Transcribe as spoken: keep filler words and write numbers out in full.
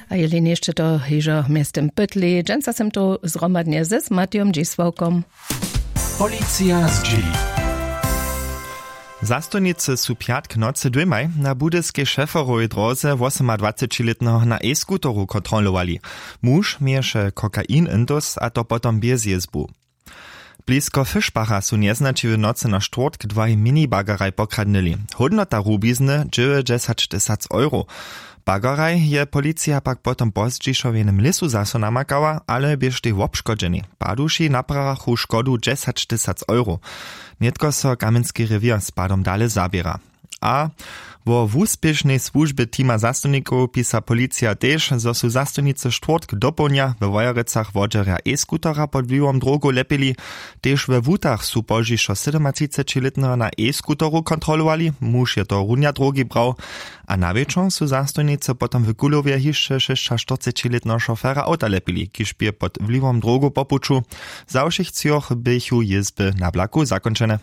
A jeli něšće to hižo mjeztym pytli, dźensa sym to zhromadnje z Matijom Dźisławkom. Policija zdźěli. Zastojnicy su pjatk nocy dwěmaj na budyskej šeferowej dróze wosomadwacećilětneho na e-skuteru kontrolowali. Muž měješe kokain intus a to potom bjez jězbu. Blisko Fischbacha su njeznaći w nocy na štwórtk dwaj minibagaraj pokradnyli. Hódnota rubizny dźewjećdźesattysac euro. Bagaraj je policija pak potom pozdźišo w jenym lěsu zaso namakała, ale běštej wobškodźeni. Paduši naprachu škodu dźesattysac euro. Nětko so Kamjenski rewěr z padom dale zaběra. A wo wuspěšnej słužbje teama zastojnikow pisa policija tež, zo su zastojnicy štwórtk dopołdnja we Wojerecach wodźerja e-skutera pod wliwom drogow lepili. Tež we Wutach su pozdźišo sydomatřicećilětneho na e-skuteru kontrolowali. Muž je to runja drogi brał. A na wječor su zastojnicy potom w Kulowje hišće šěsćaštyrcećilětneho šofera awta lepili, kiž bě pod wliwom drogow po puću. Za wšěch třoch běchu jězby na blaku zakónčene.